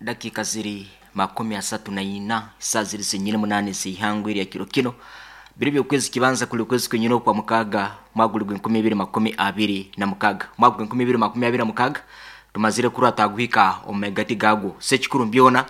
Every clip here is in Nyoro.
Dakika ziri 34, saa ziri zenyine 8 z'ihangwe lya kiro kino, biri by'okwezi kibanza kuli kwezi kwenyine okwa mukaaga, mwaka guli gw'e 2026, mwaka gw'e 2026. Tumazire kurwa twaguhika omu megati gagwo. Sekikuru mbyona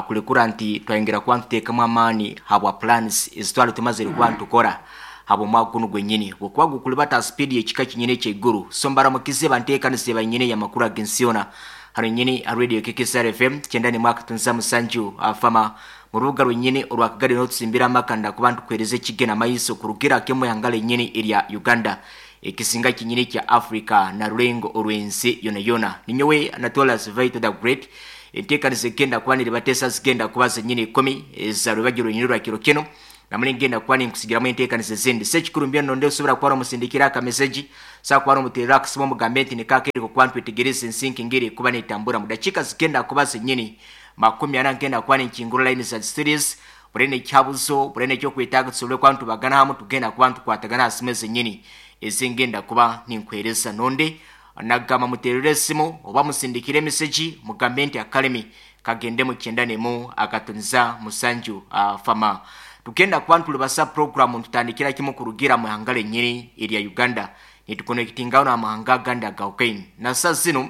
kulekura nti twayongera kuba ntuteekamu amaani habwa plans ezitwali tumazire kuba ntukora habwa omwaka gunu gwenyini bwokuba gukulibata speed y'ekika kinyine ekyaiguru. So mbaramukize banteekanise banyine y'amakuru ag'ensi yoona hano nyini ha Radio KKSR FM 91.7 afama mu rubuga rwenyini orwa Kagadi, n'otusimbira amakanda kuba ntukuhereza ekigena maiso kurugira kemwe ihanga lenyini erya Uganda, ekisinga kinyini kya Africa na rulengo orw'ensi yona yona. Ninyowe Anatolas Vito the Great. Enteekaniza egenda kuba niribateesa zigenda kuba zenyini 10 eza rwebagyo rwenyini rwa kiro kino, namuli ngenda kuba ninkusigiramu enteekaniza ezindi. Sekikuru mbya nonde osobora kuba nomusindikira akameseji, saa kuba nomuterera akasimu, omugambe nti nikakereko kuba ntwetegereza ensi ngeri kuba netambura. Mu dakiika zigenda kuba zenyini 40 ngenda kuba ninkingura line za series. Burene ekyabuzo, burene ekyokwetaaga, tusobole kuba ntubagana hamu. Tugenda kuba ntukwatagana aha simu ezenyini ezingenda kuba ninkwereza. Nonde nagamba muterere esimu oba musindikire emeseji, mugambe nti akalemi kagende mu 91.7 fama. Tugenda kuba ntulibasa program, ntutandikira kimu kurugira mu ihanga lenyini erya Uganda, nitukonekitingaho n'amahanga agandi agawukaine. Na saa zino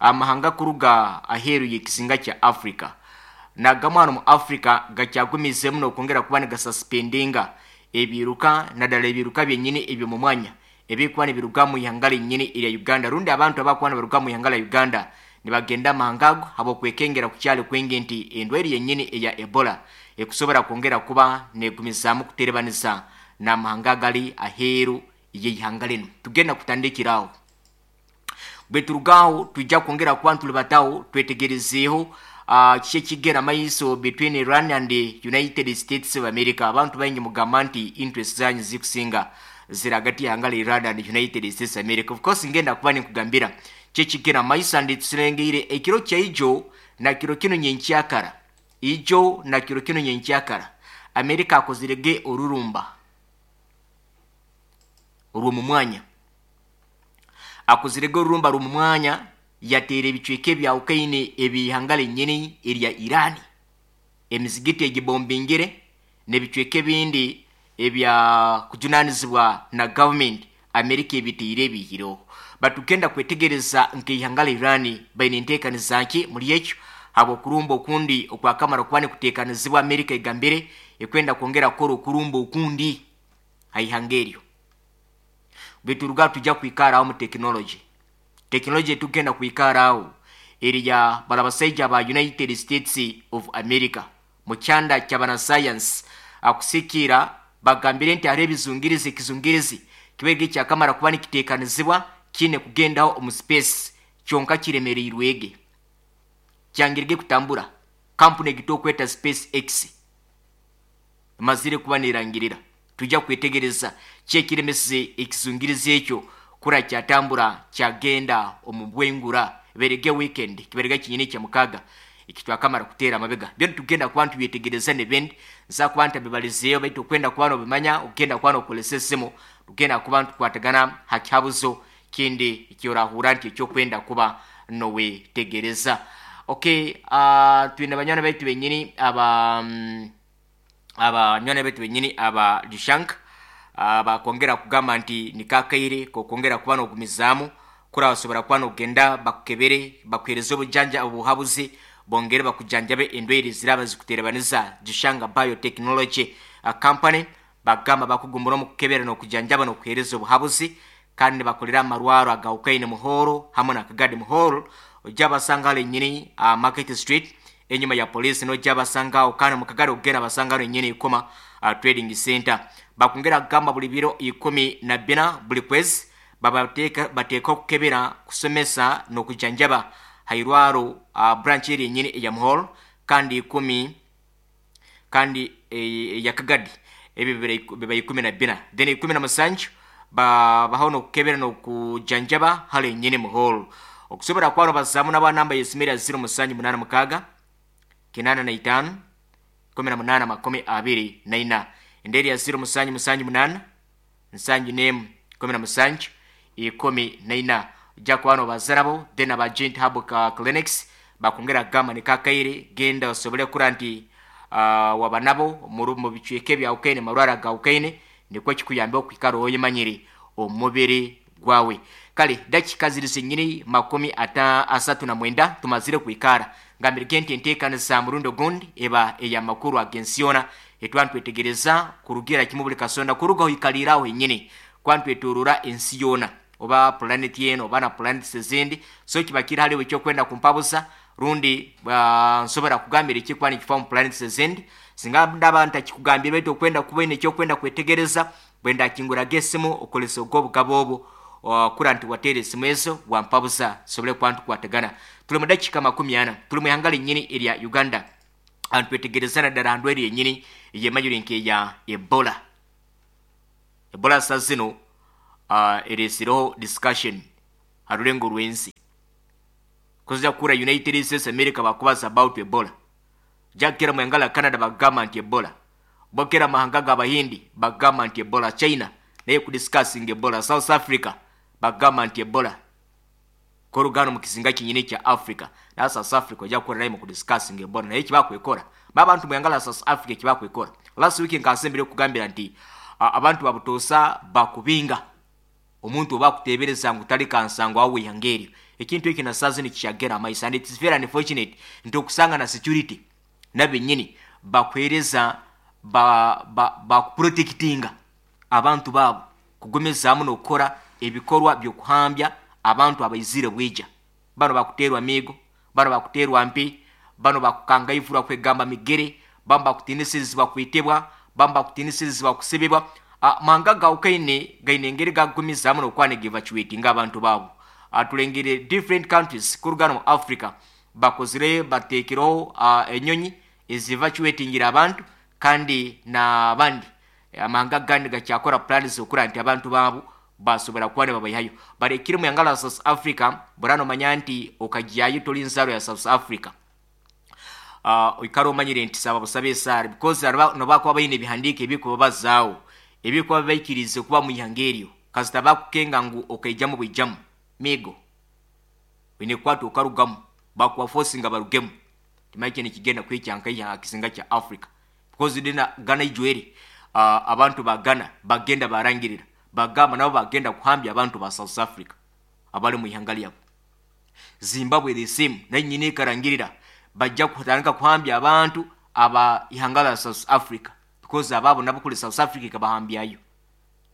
amahanga kuruga aheeru y'ekizinga kya Africa nagamwe hano mu Africa gakyagumizemu n'okwongera kuba nigasasipendinga ebiruka, naddala ebiruka byenyini ebyo mu mwanya ebikuba nibiruga mu ihanga lenyini erya Uganda, rundi abantu abakuba nibaruga mu ihanga lya Uganda nibagenda amahanga ago habwokwekengera kukyali kwingi nti endwaire yenyini eya Ebola ekusobora kwongera kuba negumizaamu kuterebaniza n'amahanga agali aheeru y'ihanga linu. Tugenda kutandikiraho. Bwe turugaho tujja kwongera kuba ntulibataho twetegerezeeho kiki ekigera maiso between Iran and the United States of America. Abantu baingi mugamba nti interest zanyu zikusinga ziri hagati y'ihanga lya Iran and United States of America. Of course ngenda kuba ninkugambira kyekigera maiso, and tusirengeire ekiro kyaijo na kiro kino nyenkyakara, ijo na kiro kino nyenkyakara, America akozirege orurumba orw'omu mwanya, akozirege orurumba rw'omu mwanya, yateera ebicweka ebyawukaine eby'ihanga lenyini erya Irani, emizigiti egibombingire n'ebicweka ebindi ebya kujunanizibwa na gavumenti Amerika ebitiire ebihireho. Batugenda kwetegereza nk'ihanga la Irani baine enteekaniza ki muri ekyo, habw'okurumba okundi okwakamara kuba nikuteekanizibwa. Amerika egambire ekwenda kwongera kukora okurumba okundi ha ihanga eryo. Bweturuga tujja kwikaraho mu tekinology. Tekinology etugenda kwikaraho eriya bala basaija ba United States of America mu kyanda ky'abanasayansi akusikiira bagambire nti hariho ebizungirizi, ekizungirizi kibaire ekyakamara kuba nikiteekanizibwa kiine kugendaho omu space, kyonka kiremereirwege, kyangirege kutambura. Kampuni egita okweta Space X emazire kuba nerangirira. Tujja kwetegereza ki ekiremesize ekizungirizi ekyo kura kyatambura kyagenda omu bwengura. Berege weekend kiberege kinyini kya mukaaga ekitwakamara kuteera amabega. Byona tugenda kuba ntubyetegereza n'ebindi nza kuba ntabibalizeeyo, baitu okwenda kuba nobimanya ogenda kuba nokolesa esimu, tugenda kuba ntukwatagana ha kihabuzo kindi ekyorahura nti ekyokwenda kuba nowetegereza. Okay, twine banywani baitu benyini aba abanywani baitu benyini aba Lishank bakwongera kugamba nti nikakaire kokwongera kuba nogumizaamu kura basobora kuba nogenda bakukebere, bakuhereza obujanja, obuhabuzi, bongere bakujanjabe endwaire ziraba zikuterebaniza. Gishanga Biotechnology Company bagamba bakugumbura omu kukebera n'okujanjaba n'okuhereza obuhabuzi, kandi nibakolera amarwaro agawukaine Muhoro hamwe na Kagadi. Muhoro ojja basanga hali nyini Market Street enyuma ya polisi, nojja basangaho, kandi mu Kagadi ogenda basanga hali nyini Ikoma Trading Center. Bakongera kugamba buli biro 14 buli kwezi babateeka bateeka okukebera, kusomesa n'okujanjaba hairwaro branch eri enyini eya Muhoro, kandi ikumi kandi eya Kagadi ebyo biba 14, then 17 babaho n'okukebera n'okujanjaba hali enyini Muhoro. Okusobora kuba nobazaamu naba namba y'esimu ya 0786 85 18 24, enderi ya 0778 71 17 14, ojja kuba nobaza nabo. Then aba Gent Hub Clinics Bakongera kugamba nikakaire genda osobole kura nti waba nabo mu bicweka ebyawukaine marwara gawukaine, nikwo kikuyambe okwikara oyemanyire omubiri gwawe. Kale dakika ziri zenyini 39 tumazire kwikara ngambirike nti enteekanisa murundi ogundi eba ey'amakuru ag'ensi yoona etwantwetegereza kurugira kimu buli kasonda kuruga oikaliraho henyini kwantwetorora ensi yoona oba planet yeno oba na planets ezindi. So kiba kiri haliwe ekyokwenda kumpabuza rundi nsobora kugambira ekikuba nikifa mu planets ezindi singa ndaba ntakikugambire, baitu okwenda kuba oine ekyokwenda kwetegereza bwendakinguraga esimu okolesa ogwo obugabo obwo kura nti wateera esimu ezo wampabuza tusobole kuba ntukwatagana. Tuli mu dakika 40, tuli mu ihanga linyini erya Uganda, ntwetegereza naddala handwaire yenyini eyemanyire nkeya Ebola. Ebola sa zino eresireho discussion ha rulengo rw'ensi. Kuza kura United States America bakubaza about Ebola, jakera mu ihanga la Canada bagamba nti Ebola, bokera amahanga g'Abahindi bagamba nti Ebola, China naye kudiscussing Ebola, South Africa bagamba nti Ebola korugano mu kizinga kinyini kya Africa. Na South Africa ojja kukora naye mu kudiscussing Ebola, naye kibakwekora babantu mu ihanga la South Africa kibakwekora. Last week nkasembere okugambira nti abantu babutosa bakubinga omuntu oba akutebereza ngu tali kansango awo ihanga eryo. Ekintu ekyo nasazi nikikyagera amaiso, and it is very unfortunate nti okusanga na security nabenyini bakuhereza bakuprotectinga abantu baabo kugumizaamu n'okukora ebikorwa by'okuhambya abantu abaizire bwija. Bano bakuteerwa miigo, bano bakuteerwa mpi, bano bakukangaivurwa kwegamba migere, bamu bakutinisirizibwa kwitibwa, bamu bakutinisirizibwa kusibibwa. Manga gawukaine gaine engeri gagumizaamu n'okuba nigevacuatinga abantu baabo. Tulengere different countries kurugana mu Africa bakozire bateekereho enyonyi ezivacuatingira abantu, kandi n'abandi amahanga gandi gakyakora plans okura nti abantu baabo basobora kuba nibabayihayo. Barekire mu ihanga la South Africa burano manya nti okagyayo toli nzaro ya South Africa, oikara omanyire nti saba busabe esaara, because nobakuba baine ebihandiiko ebikubabazaawo ebikuba bibaikirize kuba mu ihanga eryo, kasita bakukenga ngu okaijamu bwijamu migo oine kukwata okarugamu, bakuba forcinga barugemu. Timanyi kye nikigenda kwikya nkaiha aha kizinga kya Africa, because dina Ghana ijwere abantu ba Ghana bagenda barangirira bagamba nabo bagenda kuhambya abantu ba South Africa abali mu ihanga lyabo. Zimbabwe the same, nayo nyine ekarangirira bajja kutandika kuhambya abantu aba ihanga la South Africa, because ababo nabo kuli South Africa ikabahambyayo.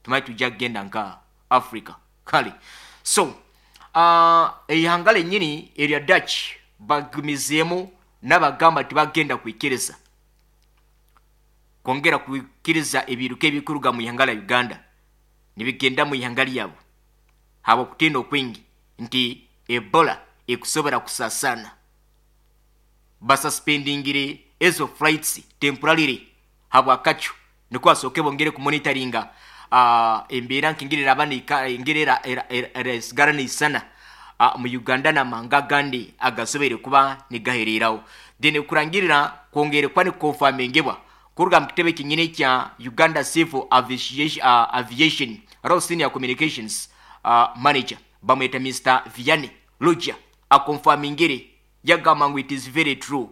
Tumanyi tujja kugenda nka Africa. Kale so eihanga lenyini erya Dutch bagumizeemu n'abagamba tibagenda kwikiriza kwongera kwikiriza ebiruka ebikuruga mu ihanga la Uganda nibigenda mu ihanga lyabo habwokutiina okwingi nti Ebola ekusobora kusasana. Basuspendingire ezo flights temporarily habwakacu nikwo basooke bongere kumonitoringa embeera nkengeri eraba engeri erasigara neisana mu Uganda n'amahanga agandi agasoboire kuba nigahereraho. Then kurangirira kwongere kuba nikukonfamingebwa kuruga mu kitebe kinyini kya Uganda Civil Aviation Royal Senior Communications Manager bamweta Mr Vianney Luja akonfamingire yagamba ngu it is very true.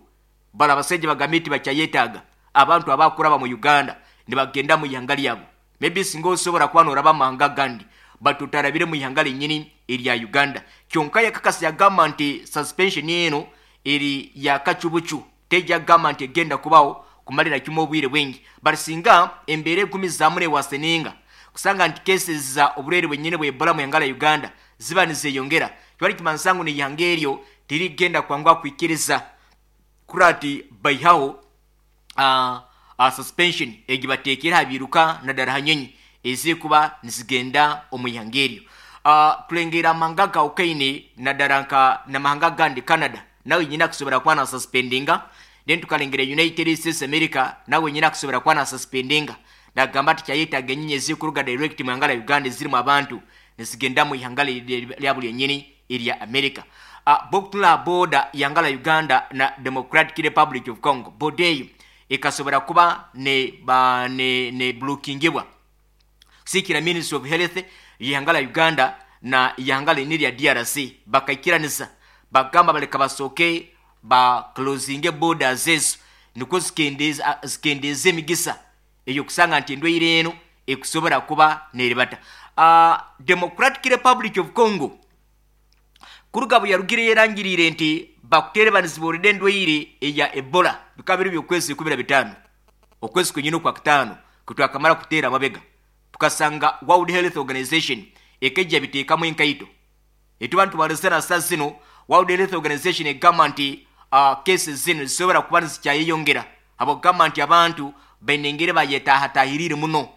Bala abasajja bagambye nti bakyayetaaga abantu abakuraba mu Uganda nibagenda mu ihanga lyabo. Maybe singa osobola kuba noraba amahanga agandi but otarabire mu ihanga linyini erya Uganda. Kyonka yakakasa yagamba nti suspension eno eri yakacubucu, tejja kugamba nti egenda kubaho kumalira kimu obwire bwingi, but singa embeera egumizaamu newaseninga kusanga nti cases za oburwaire bwenyini bwa Ebola mu ihanga lya Uganda ziba nizeyongera, kibali kimanisa ngu n'ihanga eryo tirigenda kwanguha kwikiriza kuri ati baihaho suspension egi bateekere aha biruka naddala ha nyonyi ezikuba nizigenda omu ihanga eryo. Tulengera amahanga gawukaine naddala nka namahanga agandi, Canada nawe nyine akusobora kuba na suspendinga. Then tukalengera United States America nawe nyine akusobora kuba na suspendinga, nagamba ati kyayetaaga enyonyi ezikuruga direct mu ihanga lya Uganda ezirimu abantu nizigenda mu ihanga lyabo lyenyini erya America. Bokutula boda ihanga la Uganda na Democratic Republic of Congo, boda eyo ekasobora kuba ne, ba, ne, ne blockingibwa kusiikira Ministry of Health ihanga la Uganda na ihanga lini lya DRC bakaikiranisa bagamba baleka basooke. Ba closinge borders ezo nikwo zikendeeza emigisa ey'okusanga nti endwaire eno ekusobora kuba neribata. Democratic Republic of Congo kuruga bwe yarugire yerangiriire nti bakuterebanizibwa orede endwaire eya Ebola, bikaba biri by'okwezi 15, okwezi kwenyini okwa kutaano kutwakamara kuteera amabega, tukasanga World Health Organization ekejja biteekamu enkaito. Etuba nitubalizana saa zino, World Health Organization egamba nti cases zino zisobora kuba nizikyayeyongera, habwokugamba nti abantu baine engeri bayetaahatahiriire muno.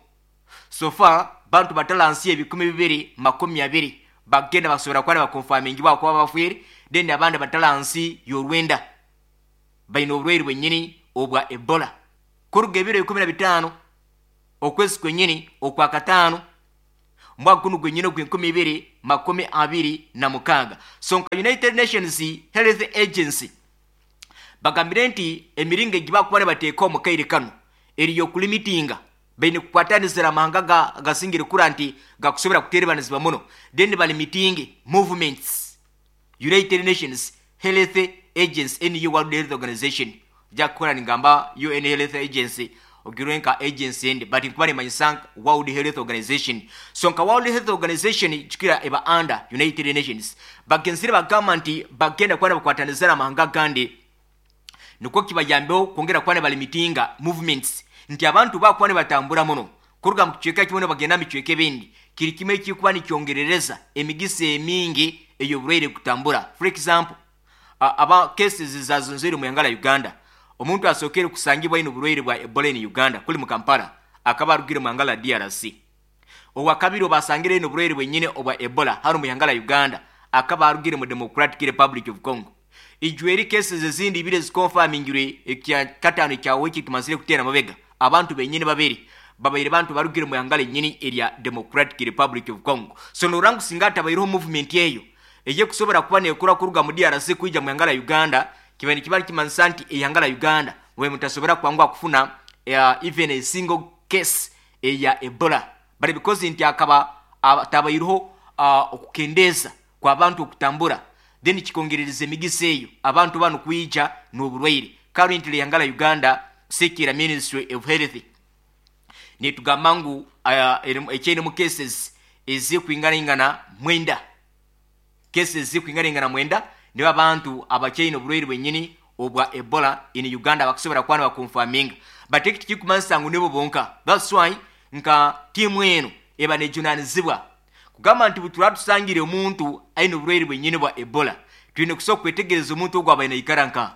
So far bantu batalansi 2020 bagenda basobora kuba nibakonfamingibwa kuba bafiire, then abandi batalansi y'orwenda baine oburwaire bwenyini obwa Ebola kuruga ebiro 15 okwezi kwenyini okwa kataano mwaka guno gwenyini ogw'2026. So nka United Nations Health Agency bagambire nti emiringo egi bakuba nibateeka omu kaire kano eri y'okulimitinga, baine kukwatanizira amahanga gasingire kura nti gakusobora kuterebanizibwa muno, then balimitinge movements. United Nations Health Agency, NU World Health Organization, jakukora ningamba UN Health Agency ogirwe nka agency endi, but nkuba nimanyisa World Health Organization. So nka World Health Organization kikira eba under United Nations, bagenzire bagamba nti bagenda kuba nibakwatanizira amahanga gandi nikwo kibayambeho kwongera kuba nibalimitinga movements, nti abantu bakuba nibatambura muno kuruga mu kicweka kimwe nibagenda mu bicweka ebindi, kiri kimwe ekikuba nikyongerereza emigisa emingi ey'oburwaire kutambura. For example, aba cases zazonzere mu ihanga la Uganda, omuntu asookere kusangibwa aine oburwaire bwa Ebola in Uganda kuli mu Kampala akaba arugire mu ihanga la DRC. Owakabiri obasangire aine oburwaire bwenyine obwa Ebola hano mu ihanga la Uganda akaba arugire mu Democratic Republic of Congo. Ijweri cases ezindi ibiri ezikonfamingirwe ekya kataano ekya wiki tumazire kuteera mabega, abantu benyini babiri babaire bantu barugire mu ihanga lenyini erya Democratic Republic of Congo. So norangu singa atabaireho movement eyo eyekusobora kuba nekura kuruga mu DRC kwija mu ihanga la Uganda, kiba nikiba nikimanyisa nti ihanga la Uganda we mutasobora kwanguha kufuna even a single case eya Ebola, but because nti akaba atabaireho okukendeeza kw'abantu okutambura, then kikongerereza emigisa eyo abantu bano kwija n'oburwaire. Currently ihanga la Uganda kusikira Ministry of Health nitugamba ngu ekyainemu cases ezikwinganaingana 9, cases zikwinganaingana 9 nibo abantu abakyaine oburwaire bwenyini obwa Ebola in Uganda bakusobora kuba nibakonfaminga, but eki tikikumanyisa ngu nibo bonka. That's why nka tiimu eno eba nejunanizibwa kugamba nti bwe tusangire omuntu aine oburwaire bwenyini bwa Ebola, twine kusobola kwetegereza omuntu ogwo abaine aikara nka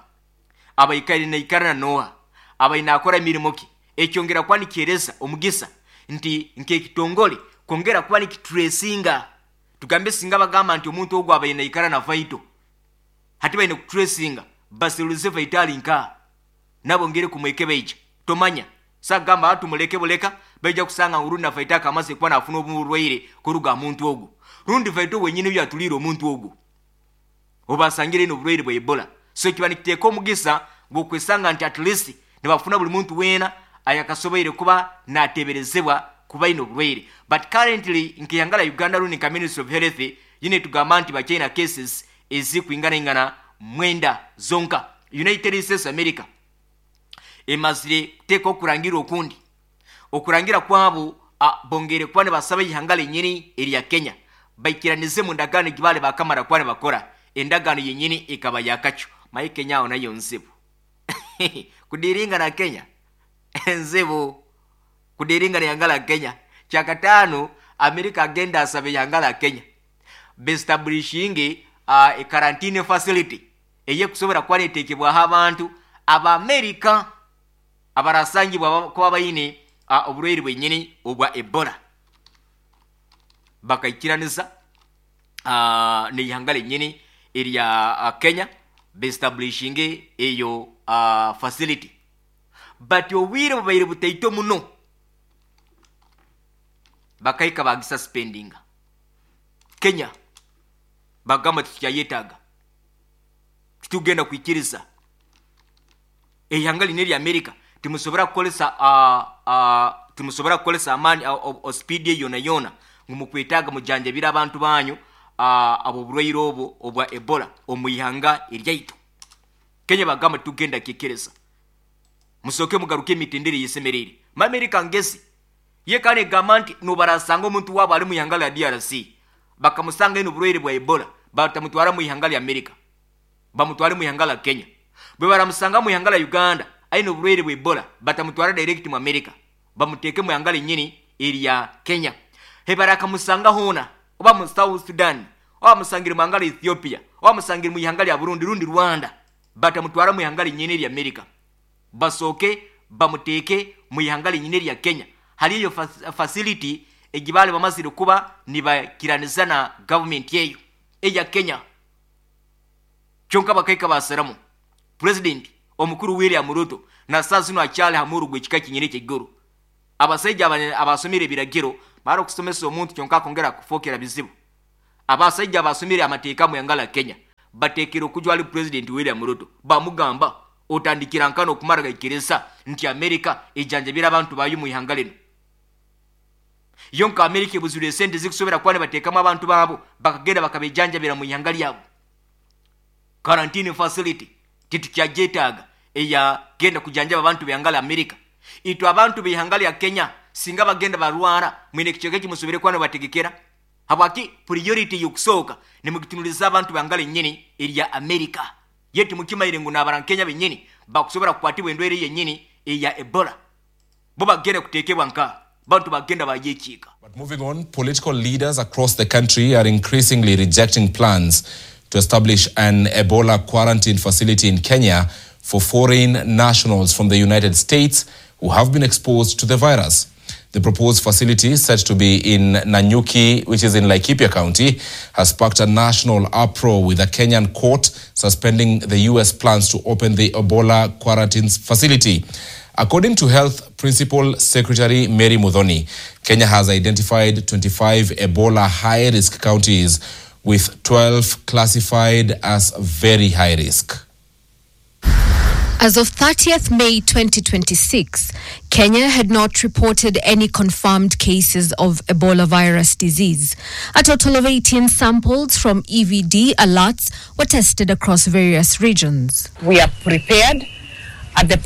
abaikaire naikara na noha, abaine akora emirimo ki, ekyongera kuba nikyereza omugisa nti nk'ekitongole kwongera kuba nikitresinga. Tugambe singa bagamba nti omuntu ogwo abaine naikara na Vaito, hati baine kutresinga baserulize Vaito ali nka nabo ngere kumwekebeija, tomanya sagamba tumuleke buleka, baija kusanga ngu rundi na Vaito akamaze kuba nafuna oburwaire kuruga muntu ogwo, rundi Vaito wenyini yatulire omuntu ogwo obasangire n'oburwaire bwa Ebola. So kiba nikiteeka omugisa gw'okwesanga nti at least nibafuna buli muntu weena ayakasoboire kuba nateberezebwa kuba aine oburwaire. But currently nk'ihanga la Uganda rundi nka Ministry of Health yine tugamba nti bakyaina cases ezikwinganaingana 9 zonka. United States America emazire kuteeka okurangira okundi, okurangira kwabo bongere kuba nibasaba ihanga lenyini erya Kenya baikiranize mu ndagaano egibale bakamara kuba nibakora endagaano yenyini ekaba yakacu. Maye Kenya aho nayo nzibu kudiringa na Kenya nzibu kudiringa na ihanga la Kenya. Kyakataano America agenda asaba ihanga la Kenya bestablishinge a quarantine facility eyekusobora kuba neteekebwaho abantu Abamerika abarasangibwa kuba baine oburwaire bwenyini obwa Ebola. Bakaikiraniza n'ihanga lenyini erya Kenya bestablishinge eyo facility, but obwire bubaire butaito muno bakahika bagisuspendinga. Kenya bagamba titukyayetaaga, titugenda kwikiriza ihanga lino erya America, timusobora kukolesa timusobora kukolesa amaani speed yona yona ngu mukwetaaga mujanjabire abantu banyu abo oburwaire obwo obwa Ebola omu ihanga eryaitu. Kenya bagamba tugenda kikereza musooke mugaruke emitendera eyesemereire. Amerika ngezi ye kandi egamba nti nobarasanga omuntu waabo ali mu ihanga lya DRC bakamusanga eno oburwaire bwa Ebola, batamutwara mu ihanga lya Amerika, bamutware mu ihanga lya Kenya. Bwe baramusanga mu ihanga lya Uganda aine oburwaire bwa Ebola, batamutwara direct mu Amerika, bamuteeke mu ihanga lyenyini erya Kenya. Hebarakamusanga hoona oba mu South Sudan, oba bamusangire mu ihanga lya Ethiopia, oba bamusangire mu ihanga lya Burundi rundi Rwanda, batamutwara mu ihanga lyenyini erya Amerika, basooke bamuteeke mu ihanga lyenyini erya Kenya. Hali eyo facility egibaali bamazire kuba nibakiraniza na gavumenti eyo eya Kenya. Kyonka bakaika basiramu President omukuru William Ruto na saa zinu akyali ha muhuru gw'ekika kinyini eky'eiguru. Abasaija abasomire ebiragiro mara okusomesa omuntu kyonka akongera kufookera bizibu. Abasaija abasomire amateeka mu ihanga lya Kenya bateekere okujwa ali President William Ruto, bamugamba otandikira nkana okumara gaikiriza nti Amerika ejanjabira abantu bayo mu ihanga lino. Yonka Amerika ebuzire esente zikusobera kuba nibateekamu abantu baabo bakagenda bakabejanjabira mu ihanga lyabo. Quarantine facility titukyagyeetaaga eya genda kujanjaba abantu b'ihanga lya Amerika. Itwe abantu b'ihanga lya Kenya singa bagenda barwara mwine ekicweka ekimusobere kuba nibategekera. Habwaki priority y'okusooka nimugitunuliza abantu b'ihanga lyenyini erya Amerika. Ye timukimaire ngu n'abarankenya benyini bakusobora kukwatibwa endwaire yenyini eya Ebola. Bo bagenda kuteekebwa nka bantu bagenda bayekiika. But moving on, political leaders across the country are increasingly rejecting plans to establish an Ebola quarantine facility in Kenya for foreign nationals from the United States who have been exposed to the virus. The proposed facility, said to be in Nanyuki, which is in Laikipia County, has sparked a national uproar, with a Kenyan court suspending the U.S. plans to open the Ebola quarantine facility. According to Health Principal Secretary Mary Muthoni, Kenya has identified 25 Ebola high-risk counties, with 12 classified as very high risk. As of 30th May 2026, Kenya had not reported any confirmed cases of Ebola virus disease. A total of 18 samples from EVD alerts were tested across various regions. We are prepared at the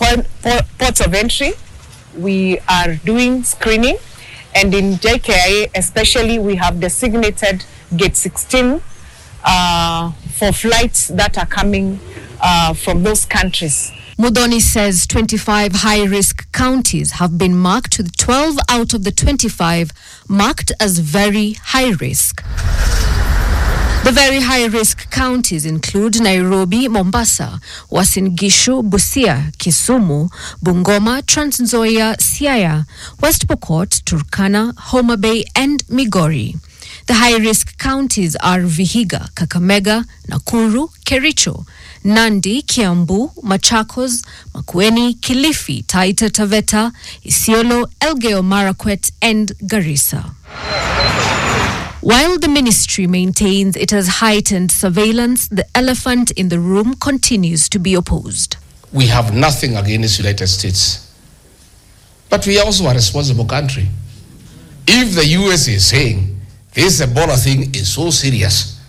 ports of entry. We are doing screening, and in JKIA especially, we have designated gate 16 for flights that are coming from those countries. Muthoni says 25 high-risk counties have been marked, with 12 out of the 25 marked as very high risk. The very high-risk counties include Nairobi, Mombasa, Uasin Gishu, Busia, Kisumu, Bungoma, Trans Nzoia, Siaya, West Pokot, Turkana, Homa Bay and Migori. The high-risk counties are Vihiga, Kakamega, Nakuru, Kericho, Nandi, Kiambu, Machakos, Makueni, Kilifi, Taita Taveta, Isiolo, Elgeyo Marakwet and Garissa. While the ministry maintains it has heightened surveillance, the elephant in the room continues to be opposed. We have nothing against the United States, but we are also a responsible country. If the US is saying this Ebola thing is so serious,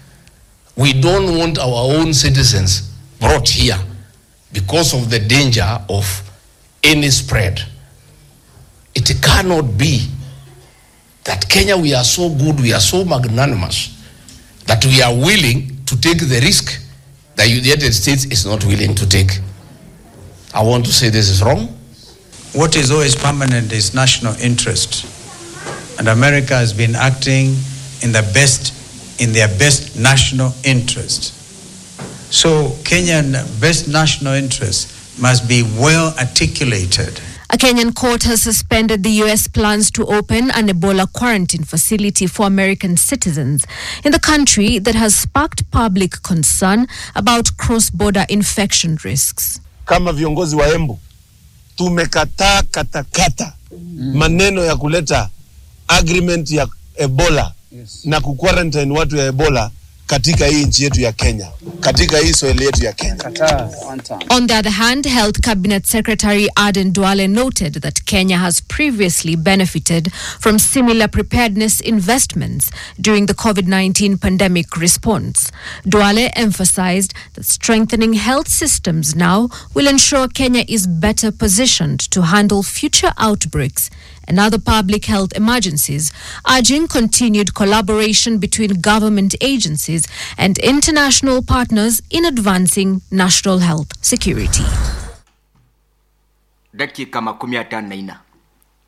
we don't want our own citizens brought here because of the danger of any spread. It cannot be that Kenya, we are so good, we are so magnanimous, that we are willing to take the risk that the United States is not willing to take. I want to say this is wrong. What is always permanent is national interest. And America has been acting in their best national interest. So Kenyan best national interest must be well articulated. A Kenyan court has suspended the U.S. plans to open an Ebola quarantine facility for American citizens in the country that has sparked public concern about cross-border infection risks. Kama viongozi wa Embu tumekataa katakata maneno ya kuleta agreement ya Ebola, yes, na kuquarantine watu ya Ebola katika hii nchi yetu ya Kenya, katika hii soil yetu ya Kenya. On the other hand, Health Cabinet Secretary Aden Duale noted that Kenya has previously benefited from similar preparedness investments during the COVID 19 pandemic response. Duale emphasized that strengthening health systems now will ensure Kenya is better positioned to handle future outbreaks and other public health emergencies, urging continued collaboration between government agencies and international partners in advancing national health security. Dakika 54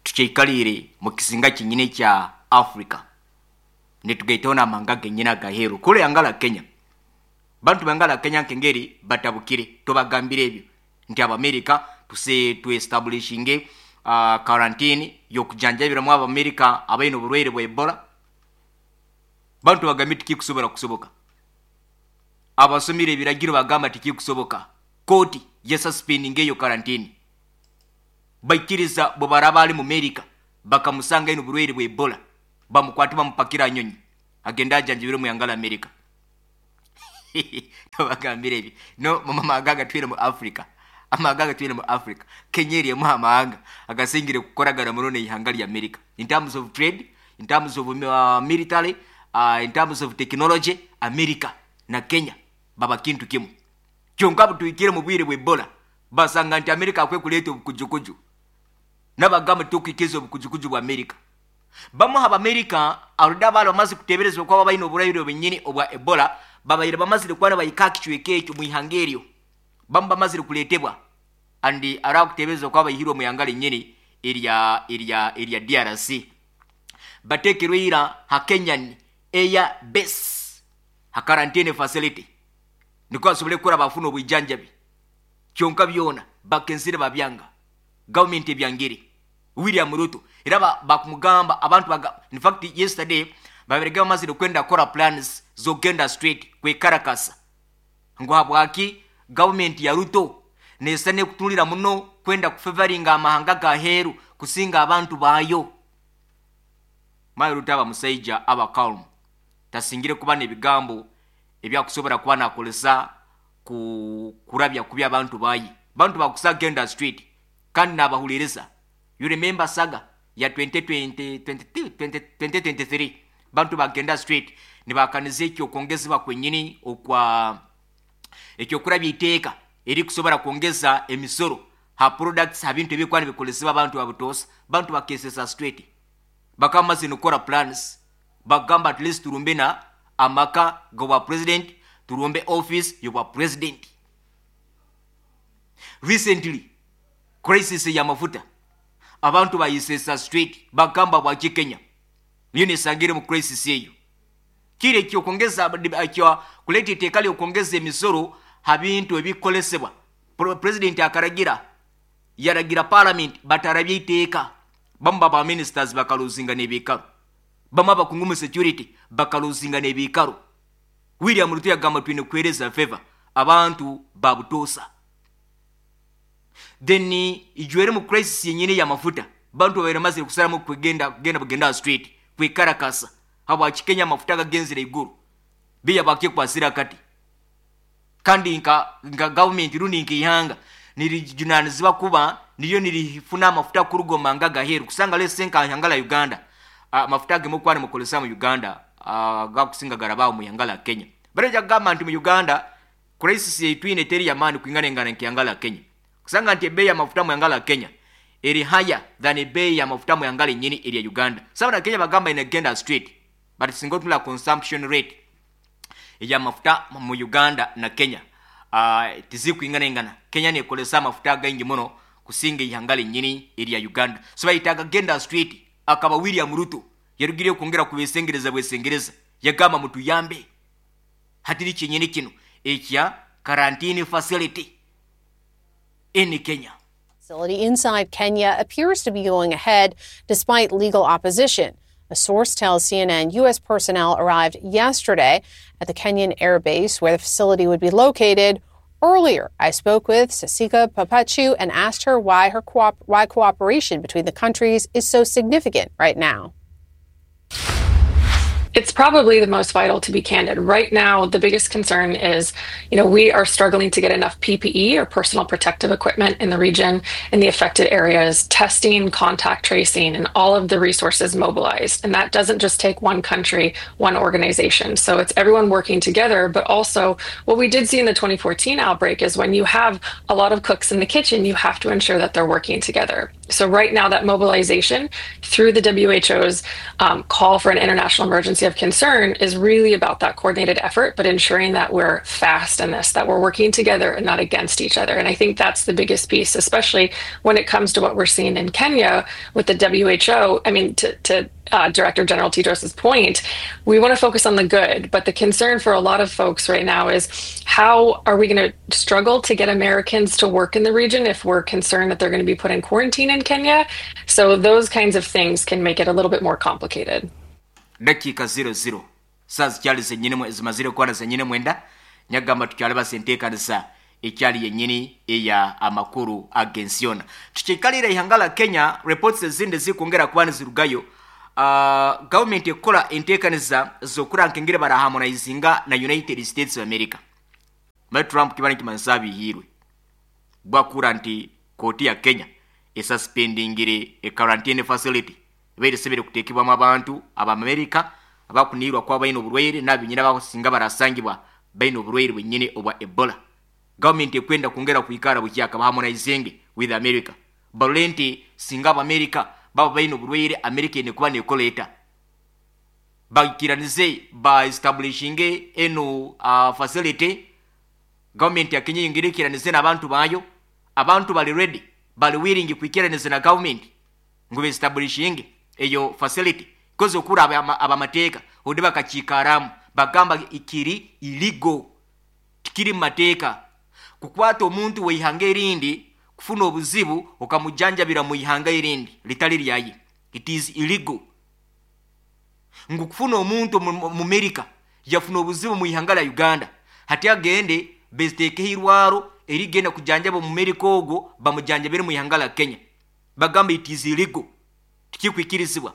tukyaikalire mu kisinga kinyine kya Africa, nitugaitaho n'amahanga genyine agaheru kule yangala Kenya. Bantu bangala Kenya nkengeri batabukire, tubagambire ebyo nti Abamerika tuse tuestablishinge quarantine yokujanjabiramu Abamerika abaine oburwaire bwa Ebola. Bantu bagambye tikikusobola kusoboka, abasomire ebiragiro bagamba tikikusoboka, kooti yasuspendinga eyo quarantine. Baikiriza bwe baraba ali mu Amerika bakamusanga ino oburwaire bwa Ebola, bamukwate bamupakira nyonyi agenda ajanjabire mu yangala Amerika. Tubagambire ebyo no mama agatwire mu Africa, amahanga agatwire mu Africa. Kenya erimu amahanga agasingire kukoragana muno n'eihanga lya America in terms of trade, in terms of military, in terms of technology. America na Kenya baba kintu kimu. Kyonka butuikire mu bwire bwa Ebola, basanga nti America akwe kuleta obukujukuju, nabagamba tukikiza obukujukuju bwa America. Bamu haba America aruda balo bamaze kuteberezwa kwa babaine oburwaire bwenyini obwa Ebola, babaire bamazire kwana bayika kichweke ekyo mu ihanga eryo, bamu bamazire kuletebwa andi ara kuteberezwa kwa bayihirwe mu ihanga lenyini erya DRC, batekerwe ira ha Kenyan Air Base ha quarantine facility niko asobole kukora bafuna obwijanjabi. Kyonka byona bakensire babyanga, government ebyangire William Ruto era bakumugamba abantu baga, in fact yesterday baberega bamazire kwenda kora plans zogenda straight kwe Caracas ngo habwaki government ya Ruto nesane kutulira muno kwenda kufavoringa amahanga gaheru kusinga abantu bayo. Mayi Ruto aba musaija aba calm, tasingire kuba n'ebigambo ebyakusobora kuba nakolesa kurabya kubi abantu bayi. Bantu bakusa genda street kandi nabahuliriza. You remember saga ya 2020, 2023 bantu bagenda street nibakaniza ekyo kwongezebwa kwenyini okwa ekyo kurabya iteeka eri kusobora kwongeza emisoro ha products ha bintu ebikuba nibikolesebwa abantu babutosa. Bantu bakesesa straight bakamaze nokora plans, bagamba at least turumbe na amaka g'obwa president, turumbe office y'obwa president. Recently crisis ya mafuta abantu bayisesa straight bagamba bwaki Kenya niyo nesangire mu crisis eyo. Kire ekyo kwongeza ekyo kuleta iteeka ly'okwongeza emisoro ha bintu ebikolesebwa. President akaragira, yaragira parliament batarabye iteeka, bamu ba ministers bakaluzinga n'ebikaro, bamu abakungu mu security bakaluzinga n'ebikaro. William Ruto yagamba twine kuhereza favor abantu babutosa. Then ijwere mu crisis yenyine ya mafuta, bantu babaire mazire kusalamu kugenda kugenda kugenda street kwikarakasa habwaki Kenya amafuta gagenzire iguru biya bakiye kwasira kati. Kandi nka government rundi nk'ihanga nirijunanizibwa kuba niyo nirifuna amafuta kurugoma nga gaheru kusanga lese nka ihanga la Uganda. Amafuta gemo kwana mukolesa mu Uganda gakusinga garabao mu ihanga la Kenya. Bareja gamba nti mu Uganda crisis yeitwine teri ya mani kuingana ngana nk'ihanga la Kenya, kusanga nti bei ya mafuta mu ihanga la Kenya eri higher than bei ya mafuta mu ihanga lenyini eri ya Uganda. Sababu na Kenya bagamba inagenda straight, but singo tula consumption rate ya mafuta mu Uganda na Kenya tizikuingana ingana. Kenya nekolesa mafuta gaingi muno kusinga ihanga lenyini eri ya Uganda. So bayitaga genda straight akaba William Ruto yarugiriye kongera kubesengereza bwesengereza yagamba mutuyambe hatiri kinyini kino ekya quarantine facility in Kenya. Facility inside Kenya appears to be going ahead despite legal opposition. A source tells CNN U.S. personnel arrived yesterday at the Kenyan air base where the facility would be located. Earlier, I spoke with Sasika Papachu and asked her why why cooperation between the countries is so significant right now. It's probably the most vital, to be candid. Right now, the biggest concern is, we are struggling to get enough PPE or personal protective equipment in the region, in the affected areas, testing, contact tracing, and all of the resources mobilized. And that doesn't just take one country, one organization. So it's everyone working together. But also, what we did see in the 2014 outbreak is when you have a lot of cooks in the kitchen, you have to ensure that they're working together. So right now, that mobilization through the WHO's call for an international emergency of concern is really about that coordinated effort, but ensuring that we're fast in this, that we're working together and not against each other. And I think that's the biggest piece, especially when it comes to what we're seeing in Kenya with the WHO. I mean, to Director General Tedros's point, we want to focus on the good, but the concern for a lot of folks right now is how are we going to struggle to get Americans to work in the region if we're concerned that they're going to be put in quarantine in Kenya? So those kinds of things can make it a little bit more complicated. Dakiika 00 saa zikyali zenyini zimazire kwana zenyini mwenda nyagamba tukyali basenteekanisa ekyali yenyini eya amakuru ag'ensi yona. Tukikalira ihanga la Kenya, reports ezindi zikwongera kuba nizirugayo. Gavumenti ekola enteekaniza z'okurankengere baraharmonizinga na United States of America. Mali Trump kiba nikimanyisa abihiirwe bwakura nti kooti ya Kenya esuspendingire e quarantine facility ebaire sebere kuteekebwamu abantu abamerica abakunirwa kuba baine oburwaire n'abinyina bakusinga barasangibwa baine oburwaire bwenyini obwa Ebola. Gavumenti ekwenda kwongera kwikara bukyaka baharmonizing with America, barole nti singa abamerica baba baine oburwaire, America ene kuba nekoleeta bakiranize ba establishinge eno facility. Gavumenti ya Kenya yongere ikiranize n'abantu bayo. Abantu bali ready, bali willing kwikiraniza na gavumenti ngu beestablishinge eyo facility, koze okura abamateeka odi bakakikaramu bagamba ikiri illegal, tikiri mu mateeka kukwata omuntu weihanga erindi kufuna obuzibu okamujanjabira mu ihanga erindi litali lyaye. It is illegal ngu kufuna omuntu mu America yafuna obuzibu mu ihanga lya Uganda, hati agende beziteekeho irwaro erigenda kujanjaba mu America ogwo bamujanjabire mu ihanga lya Kenya. Bagamba it is illegal, tikikwikirizibwa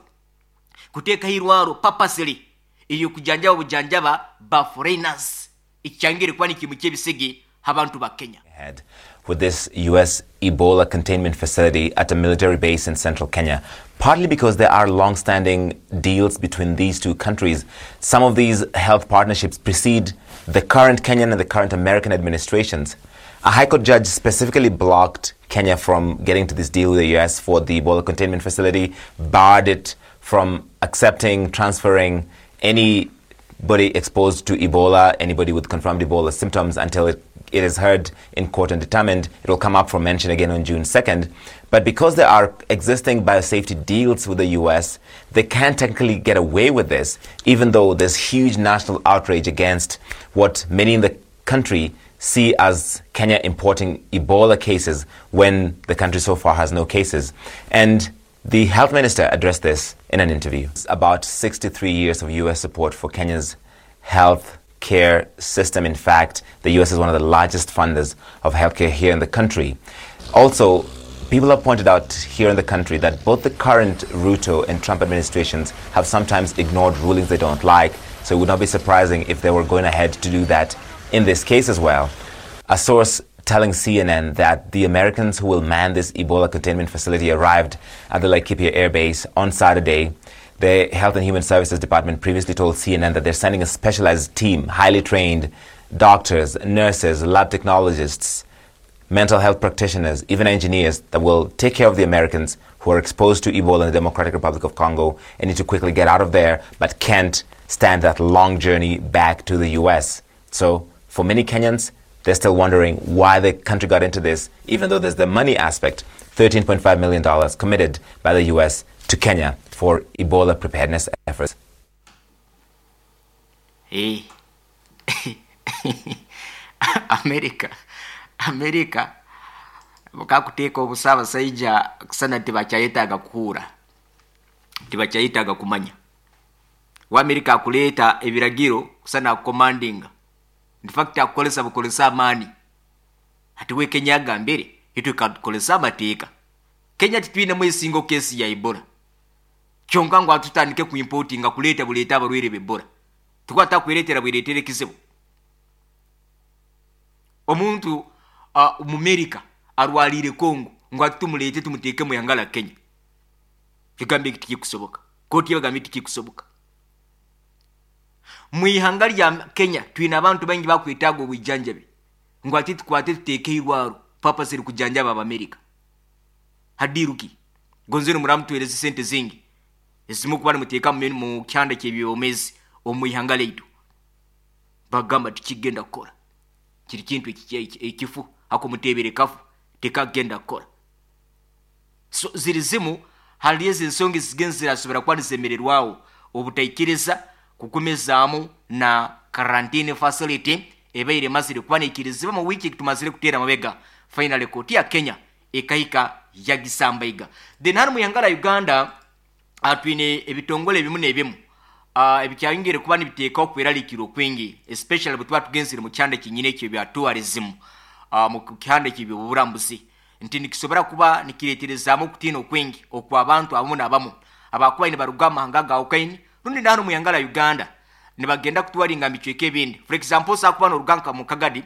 kuteekaho irwaro purposely eyo kujanjaba bujanjaba ba foreigners. Ikyangire kuba nikimu ky'ebisige abantu ba Kenya. Ahead with this U.S. Ebola containment facility at a military base in central Kenya, partly because there are long-standing deals between these two countries. Some of these health partnerships precede the current Kenyan and the current American administrations. A High Court judge specifically blocked Kenya from getting to this deal with the U.S. for the Ebola containment facility, barred it from accepting, transferring anybody exposed to Ebola, anybody with confirmed Ebola symptoms until it is heard in court and determined. It will come up for mention again on June 2nd. But because there are existing biosafety deals with the U.S., they can't technically get away with this, even though there's huge national outrage against what many in the country see as Kenya importing Ebola cases when the country so far has no cases. And the health minister addressed this in an interview. About 63 years of U.S. support for Kenya's health care system. In fact, the U.S. is one of the largest funders of healthcare here in the country. Also, people have pointed out here in the country that both the current Ruto and Trump administrations have sometimes ignored rulings they don't like, so it would not be surprising if they were going ahead to do that in this case as well. A source telling CNN that the Americans who will man this Ebola containment facility arrived at the Laikipia Air Base on Saturday. The Health and Human Services Department previously told CNN that they're sending a specialized team, highly trained doctors, nurses, lab technologists, mental health practitioners, even engineers that will take care of the Americans who are exposed to Ebola in the Democratic Republic of Congo and need to quickly get out of there but can't stand that long journey back to the U.S. So for many Kenyans, they're still wondering why the country got into this, even though there's the money aspect, $13.5 million committed by the U.S. to Kenya for Ebola preparedness efforts. Hey. America bakakuteeka obusa abasajja kusana tibakyayetaaga kuhuura, tibakyayetaaga kumanya. Wa America akuleeta ebiragiro kusana akukomandinga, in fact akukolesa bukolesa amaani. Ati we Kenya agambire itwe katukolesa amateeka. Kenya titwinemu esingo kesi ya Ebola. Kyonka ngu atutandike kuimportinga kuleeta buleeta abarwaire b'Ebola, tukuba takweretera bweretera ekizibu. Omuntu omu America arwaliire Congo ngu ati tumuleete tumuteeke mu ihanga lya Kenya, ekigambo eki tikikusoboka. Kooti ebagambire tikikusoboka. Mu ihanga lya Kenya twine abantu baingi bakwetaaga obwijanjabi, ngu ati tukwate tuteeke irwaro purpose eri kujanjaba Abamerika. Hadiru ki? Gonze nimuramutwereza sente zingi ezimu kuba nimuteeka mu kyanda ky'ebyomezi omu ihanga lyaitu. Bagamba tikigenda kukora. Kiri kintu ekifu akumutebere kafu tekagenda kukora. So ziri zimu hali ezi ensonga ezigenzi zirasobora kuba nizemererwaho obutaikiriza kukumizaamu na quarantine facility ebaire emazire kuba neikirizibwa mu wiiki tumazire kuteera mabega. Finally kooti ya Kenya ekahika yagisambaiga. Then hano mu ihanga lya Uganda twine ebitongole ebimu n'ebimu ebikyayongere kuba nibiteekaho okweraliikirira okwingi, especially bwe tuba tugenzire mu kyanda kyenyini ekyo ebya tourism, mu kyanda ekyo eby'oburambuzi, nti nikisobora kuba nikireeterezaamu okutiina okwingi okw'abantu abamu n'abamu abakuba nibaruga mu mahanga agawukaine rundi nahano mu ihanga lya Uganda nibagenda kutwaringa mu bicweka ebindi. For example, osobola kuba noruga nka mu Kagadi